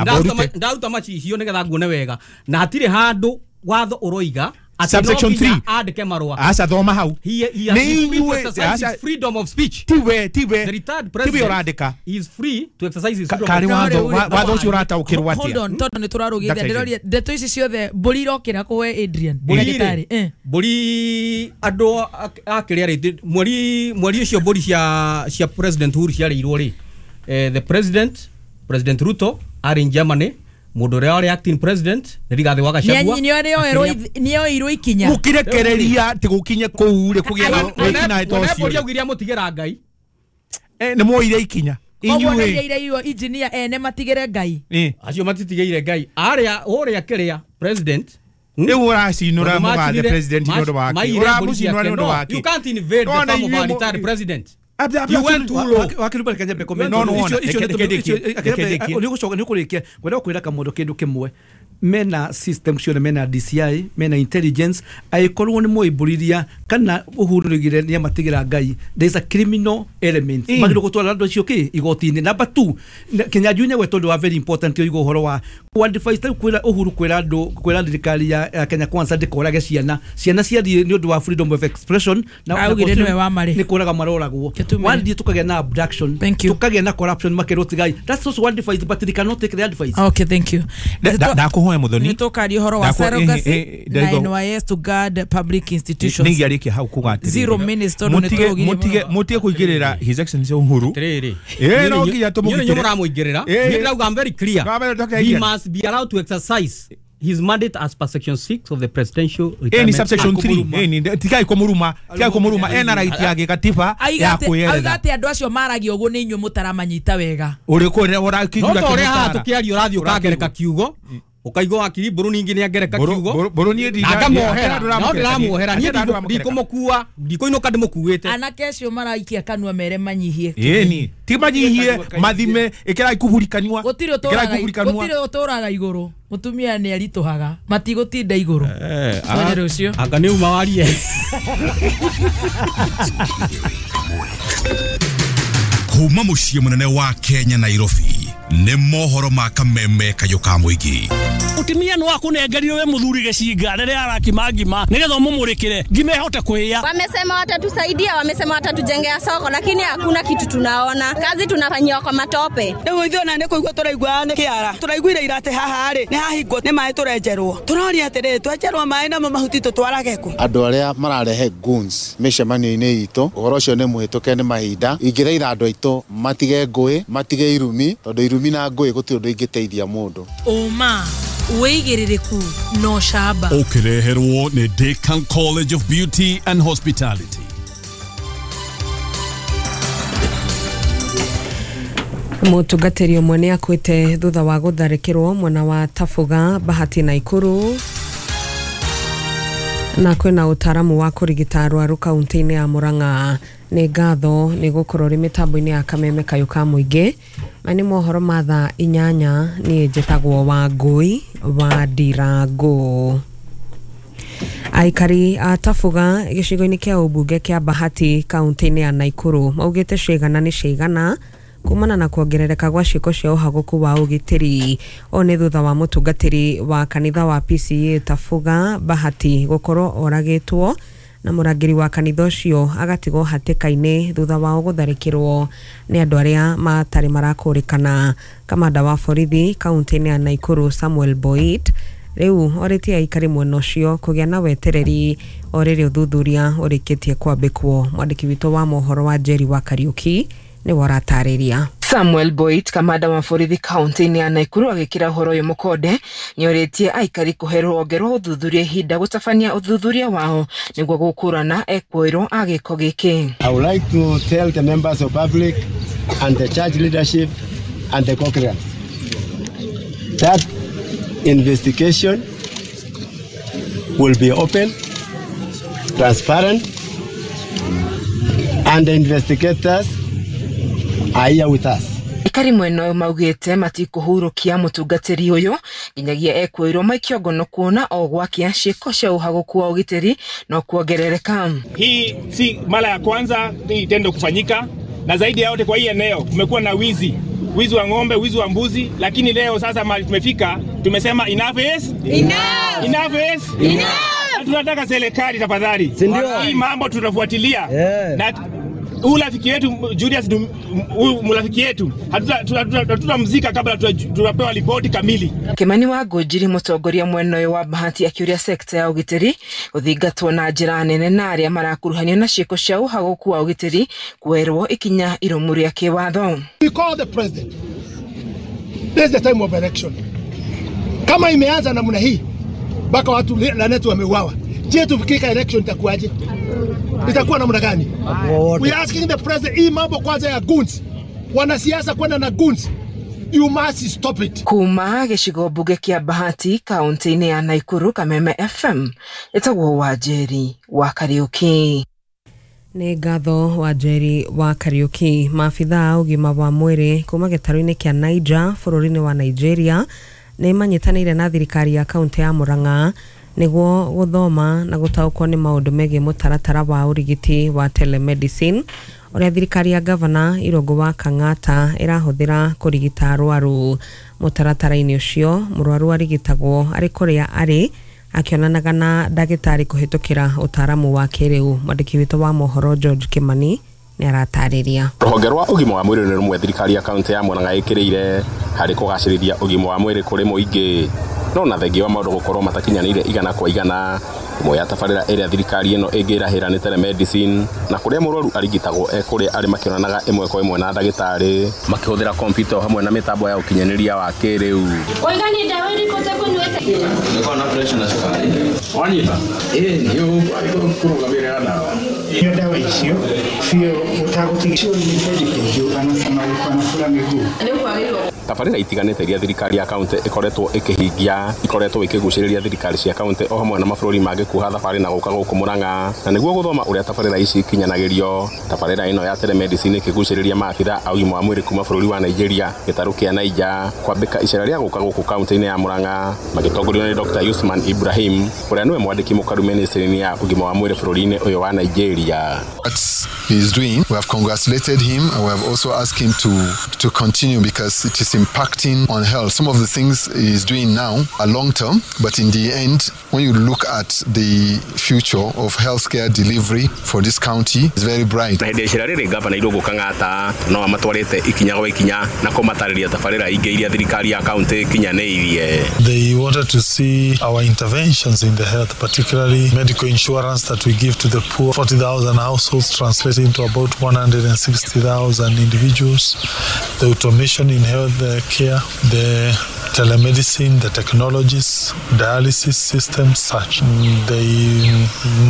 Ndaruta macicio nĩgetha nguone wega. Na hatirĩ handũ watho uroiga subsection 3 andike marũa. Aca thoma hau. He has freedom of speech. Tiwe the retired president urandika is free to exercise his freedom. Kari watho watho ucio urataukirwo atia? Hold on, tondu ni turarugithia ndiroria ndeto ici ciothe mbũri irokĩra kũwe Adrian ndagĩtarĩ. Mbũri andũ akĩrĩa rĩ mweri ũcio mbũri cia President Uhuru ciarĩirwo rĩ, the president President Ruto arĩ in Germany. Mũndũ ũrĩa warĩ acting president nĩ Rigathĩ wa Gachagua. Nĩoirwo ikinya. Mũkĩrekereria atĩ gũkinye kũu rĩ kũgĩe na wĩkinaĩ ta ũcio. Mbũri augire amũtigĩra Ngai. Nĩ mwoire ikinya. Koguo nĩ engineer ene matigĩre Ngai. Acio matitigĩire Ngai. Arĩa ũrĩa kĩrĩa president rĩu ũracinũra mũgathe president nĩ ũndũ wake. Ũramũcinũra nĩ ũndũ wake. You can't invade the farm of a retired president. You went too low. Wakiruba reke nyambe comment. Icio nĩ ũkũrĩkia ngwenda kwĩra kamũndũ kĩndũ kĩmwe. Mena system ciothe, mena DCI, mena intelligence, angĩkorwo nĩ mwoimbũriria kana Uhuru nĩoigire nĩamatigĩra Ngai, there is a criminal element. Magĩrĩirwo gũtwara andũ acio kĩ igoti-inĩ. Number 2, Kinyanjui nĩ gwetwo ũndũ wa very important oiga ũhoro wa ku-advise ta kwĩra Uhuru kwĩra andũ kwĩra thirikari ya Kenya Kwanza ndĩkorage ciana ciathiĩ nĩ ũndũ wa freedom of expression na augire nĩwe wa marĩ nĩ kũraga maroragwo. Wathiĩ tukagĩa na abduction, tukagĩa na corruption makĩrwo tigai. That's also one advice, but they cannot take the advice. Okay, thank you. Ndakuhoya Muthoni. Nĩtũkaria ũhoro wa surrogacy na NYS to guard public institutions. Nĩngiarĩkia hau kuga atĩrĩrĩ. 0 minutes tondũ nĩtũrũgire. Mũtige kũingĩrĩra His Excellency Uhuru. Atĩrĩrĩ. No nginya tũmũgitĩre. Niĩ mũramũingĩrĩra. Niĩ ndĩrauga I'm very clear. He must be allowed to exercise his mandate as per section 6 of the presidential retirement. Ni subsection 3. Tigai kũmũruma, tigai kũmũruma ena right ya gĩkatiba ya kwĩyerera. Auga atĩ andũ acio maragia ũguo nĩ inyuĩ mũtaramanyita wega. Ũrĩkũ ũrakĩigua kĩmũtara. No ta ũrĩa haha tũkĩaria ũrathiĩ ũkangereka kiugo. Ukaigua wakiri mbũrũ ningĩ nĩangereka kiugo. Mbũrũ niĩ ngamuohera. No ndĩramuohera niĩ ndikũmũkua, ndikũinũka ndĩmũkuĩte. Anake acio maraikia kanua mere manyihie. Ĩni, ti manyihie, mathime, ĩkĩrai kuburi kanua. Gũtirĩ ũtũraga igũrũ. Mũtumia nĩ aritũhaga, matigũtinda igũrũ. Twende rũciũ. Anga nĩ uma warie. Kuma mũciĩ mũnene wa Kenya Nairobi nĩ mohoro ma kameme kayũ ka mũingĩ. Mũtumia nĩ wakũnengerirwo we mũthuri gĩcinga rĩrĩa arakima ngima nĩgetha ũmũmũrĩkĩre ngima ĩhote kũhĩa. Wamesema watatusaidia, wamesema watatujengea soko, lakini hakuna kitu tunaona. Kazi tunafanyiwa kwa matope. Rĩu ithuĩ ona nĩ kũigua tũraigua nĩ kĩara. Tũraiguire ira atĩ haha rĩ nĩ hahingwo nĩ maĩ tũrenjerwo. Tũroria atĩrĩrĩ twenjerwo maĩ namo mahuti tũtwarage kũ? Andũ arĩa mararehe goons mĩcemanio-inĩ itũ, ũhoro ũcio nĩ mũhĩtũke nĩ mahinda. Ingĩthaitha andũ aitũ matige ngũĩ, matige irumi, tondũ irumi na ngũĩ gũtirĩ ũndũ ingĩteithia mũndũ. Ũma wĩigĩrĩrĩku no camba. Ũkĩreherwo nĩ Decan College of Beauty and Hospitality. Mũtungatĩri ũmwe nĩ akuĩte thutha wa gũtharĩkĩrwo mwena wa Tabuga, Bahati Naikuru. Na kwĩna ũtaaramu wa kũrigita arwaru kaunti-inĩ ya Murang'a. Nĩ ngatho nĩ gũkorwo rĩ mĩtambo-inĩ ya Kameme Kayũ ka Mũingĩ. Maya nĩ mohoro ma thaa 8. Niĩ njĩtagwo Wangũi wa Ndirango. Aikari a Tabuga gĩcigo-inĩ kĩa ũmbunge kĩa Bahati kaunti-inĩ ya Naikuru maugĩte ciĩgana nĩ ciĩgana kumana na kuongerereka gwa ciĩko cia ũhagũku wa ũgitĩri. O nĩ thutha wa mũtungatĩri wa kanitha wa PCA Tabuga Bahati gũkorwo oragĩtwo na mũrangĩri wa kanitha ũcio agatigwo hatĩka-inĩ thutha wao gũtharĩkĩrwo nĩ andũ arĩa matarĩ marakũrĩkana. Kamanda wa borithi kaunti-inĩ ya Naikuru Samuel Boit rĩu orĩtie aikari mwena ũcio kũgĩa na wetereri o rĩrĩ ũthuthuria ũrĩkĩtie kwambĩkwo. Mwandĩki witũ wa mohoro wa Njeri wa Kariuki nĩwe ũratarĩria. Samuel Boit, kamanda wa borithi kaunti-inĩ ya Naikuru, agĩkĩra ũhoro ũyũ mũkonde nĩorĩtie aikari kũhe rũhonge rwa ũthuthuria ihinda gũtabania ũthuthuria wao nĩguo gũkũrana ekũĩrwo a gĩko gĩkĩ. I would like to tell the members of public and the church leadership and the congregants that investigation will be open, transparent, and the investigators are here with us. Aikari mwena ũyũ maugĩte matikũhurũkia mũtungatĩri ũyũ nginyagia ekwĩrwo maikio ngono kuona o gwakia ciĩko cia ũhagũku wa ũgitĩri no kuongerereka. Hii si mara ya kwanza hii tendo kufanyika, na zaidi ya yote kwa hii eneo kumekuwa na wizi wa ng'ombe, wizi wa mbuzi, lakini leo sasa mahali tumefika tumesema enough is enough. Enough is enough. Tunataka serikali tafadhali, hii mambo tutafuatilia. Na huyu rafiki yetu Julius, huyu mrafiki yetu hatutamzika kabla tunapewa ripoti kamili. Kimani wa Ngũnjiri mũtongoria mwena ũyũ wa Bahati akĩũria sekta ya ũgitĩri gũthingatwo na njĩra nene na arĩa marakuruhanio na ciĩko cia ũhagũku wa ũgitĩri kuoerwo ikinya irũmu rĩa kĩwatho. We call the president. This is the time of election. Kama imeanza namna hii mpaka watu lanetu wameuawa, je, tufikika election itakuwaje? Itakuwa namna gani? We are asking the president, hii mambo kwanza ya goons, wanasiasa kwenda na goons, you must stop it. Kuma gĩcigo mbunge kĩa Bahati kaunti-inĩ ya Naikuru, Kameme FM, ĩtagwo Wanjeri wa Kariuki. Nĩ ngatho Wanjeri wa Kariuki. Maabithaa a ũgima wa mwĩrĩ kuma gĩtarũ-inĩ kĩa Niger bũrũri-inĩ wa Nigeria nĩ manyitanĩire na thirikari ya kaunti ya Murang'a nĩguo gũthoma na gũtaũkwo nĩ maũndũ megiĩ mũtaratara wa ũrigiti wa telemedicine ũrĩa thirikari ya gavana Irũngũ wa Kang'ata ĩrahũthĩra kũrigita arwaru. Mũtaratara-inĩ ũcio mũrwaru arigitagwo arĩ kũrĩa arĩ akĩonanaga na ndagĩtarĩ kũhĩtũkĩra ũtaaramu wa kĩrĩu. Mwandĩki witũ wa mohoro George Kimani nĩ aratarĩria. Rũhonge rwa ũgima wa mwĩrĩ nĩ rũmwe thirikari ya kaunti ya Murang'a ĩkĩrĩire harĩ kũgacĩrithia ũgima wa mwĩrĩ kũrĩ mũingĩ, no na thengia wa maũndũ gũkorwo matakinyanĩire igana kwa igana. Ĩmwe ya tabarĩra ĩrĩa thirikari ĩno ĩngĩrahĩra nĩ telemedicine, na kũrĩa mũrwaru arigitagwo e kũrĩa arĩ makĩonanaga ĩmwe kwa ĩmwe na ndagĩtarĩ makĩhũthĩra kompiuta hamwe na mĩtambo ya ũkinyanĩria wa kĩrĩu. Tabarĩra itiganĩte iria thirikari ya kaunti ĩkoretwo ĩkĩhingia ikoretwo ikĩgucĩrĩria thirikari cia kaunti o hamwe na mabũrũri mangĩ kuoha thabarĩ na gũka gũkũ Murang'a, na nĩguo gũthoma ũrĩa tabarĩra ici ikinyanagĩrio. Tabarĩra ĩno ya telemedicine ĩkĩgucĩrĩria maabithaa a ũgima wa mwĩrĩ kuma bũrũri wa Nigeria gĩtarũ kĩa Niger kwambĩka icera rĩa gũka gũkũ kaunti-inĩ ya Murang'a magĩtongorio nĩ Dr. Usman Ibrahim ũrĩa nĩwe mwandĩki mũkaru ministry-inĩ ya ũgima wa mwĩrĩ bũrũri-inĩ ũyũ wa Nigeria. What he is doing, we have congratulated him and we have also asked him to continue because it is impacting on health. Some of the things he is doing now are long term, but in the end, when you look at the future of healthcare delivery for this county, it's very bright. Na hĩndĩ ya icera rĩrĩ gavana Irũngũ Kang'ata no amatwarĩte ikinya gwa ikinya na kũmatarĩria tabarĩra ingĩ iria thirikari ya kaunti ĩkinyanĩirie. They wanted to see our interventions in the health, particularly medical insurance that we give to the poor, 40,000 households translating to about 160,000 individuals, the automation in health care, the telemedicine, the technologies, dialysis systems, such. They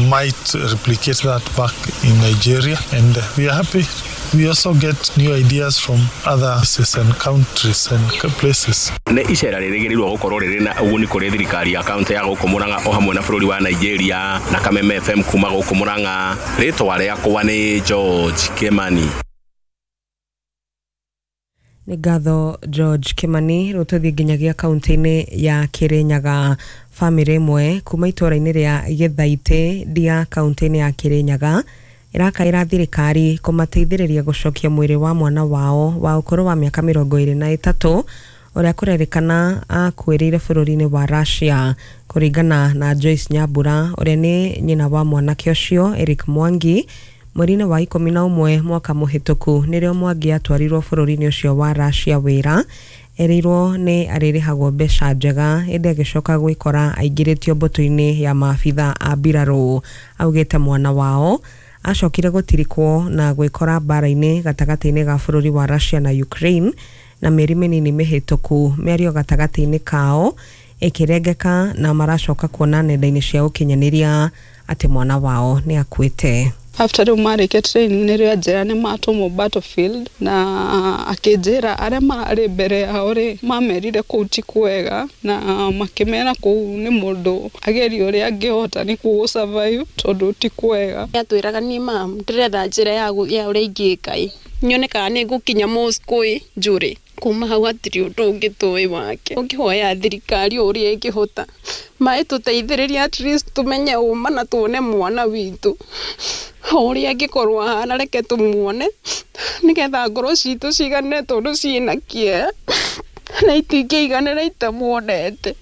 might replicate that back in Nigeria, and we are happy We also get new ideas from other cities and countries and places. Nĩ icera rĩrĩgĩrĩirwo gũkorwo rĩrĩ na ũguni kũrĩ thirikari ya kaunti ya gũkũ Murang'a o hamwe na bũrũri wa Nigeria. Na Kameme FM kuma gũkũ Murang'a, rĩtwa rĩakwa nĩ George Kimani. Nĩ ngatho George Kimani. Rĩu tũthiĩ nginyagia kaunti-inĩ ya Kirinyaga. Bamĩrĩ ĩmwe kuma itũũra-inĩ rĩa Gĩthaitĩ ndia kaunti-inĩ ya Kirinyaga ĩrakaĩra thirikari kũmateithĩrĩria gũcokia mwĩrĩ wa mwana wao wa ũkũrũ wa mĩaka 23 ũrĩa kũrerĩkana akuĩrĩire bũrũri-inĩ wa Russia. Kũringana na Joyce Nyambura ũrĩa nĩ nyina wa mwanake ũcio Eric Mwangi, mweri-inĩ wa 11 mwaka mũhĩtũku nĩrĩo Mwangi atwarirwo bũrũri-inĩ ũcio wa Russia wĩra. Erĩirwo nĩ arĩrĩhagwo mbeca njega ĩndĩ agĩcoka gwĩkora aingĩrĩtio mbũtũ-inĩ ya maabitha a mbirarũ. Augĩte mwana wao acokire gũtirikwo na gwĩkora mbara-inĩ gatagatĩ-inĩ ga bũrũri wa Russia na Ukraine, na mĩeri mĩnini mĩhĩtũku mĩario gatagatĩ-inĩ kao ĩkĩrengeka na maracoka kuona nenda-inĩ cia ũkinyanĩria atĩ mwana wao nĩ akuĩte. After rĩu marĩkia training nĩrĩo anjĩra nĩ matũmwo battlefield, na akĩnjĩra arĩa mararĩ mbere yao rĩ mamerire kũu ti kwega, na makĩmera kũu nĩ mũndũ agerie ũrĩa angĩhota nĩkuo gũ survive tondũ ti kwega. Atwĩraga niĩ mam ndĩretha njĩra ya ũrĩa ingĩka ĩ nyone kana nĩ ngũkinya Moscow ĩ njũrĩ. Kuma hau hatirĩ ũndũ ũngĩ tũĩ wake. Ũngĩhoya thirikari ũrĩa ĩngĩhota maĩ tũteithĩrĩrie at least tũmenye ũma na tuone mwana witũ ũrĩa angĩkorwo ahana, reke tũmuone nĩgetha ngoro citũ cigane tondũ ciĩna kĩeha na itingĩiganĩra itamuonete.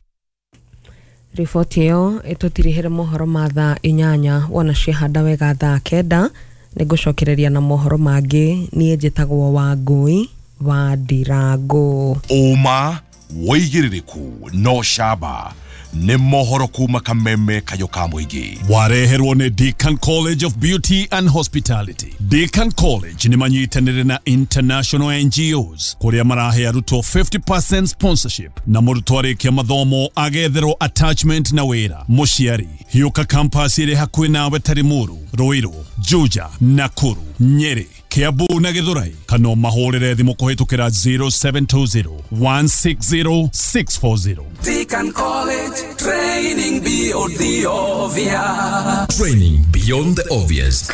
Riboti ĩyo ĩtũtirihĩre mohoro ma thaa 8 wona ciahanda wega thaa 9 nĩngũcokereria na mohoro mangĩ. Niĩ njĩtagwo Wangũi wa Ndirango. Ũma wĩigĩrĩrĩku no camba nĩ mohoro kuma Kameme kayo ka mũingĩ. Wareherwo nĩ Deacon College of Beauty and Hospitality. Deacon College nĩ manyitanĩire na international NGOs kũrĩa marahe arutwo 50% sponsorship na mũrutwo arĩkia mathomo agetherwo attachment na wĩra. Mũciari hiũka campus ĩrĩ hakuhĩ nawe ta Limuru, Ruiru, Juja, Nakuru, Nyeri, Kiambu na Githurai, kana mahũrĩre thimũ kũhĩtũkĩra 0720 160 640. Deacon College, training beyond the obvious. Training beyond the obvious.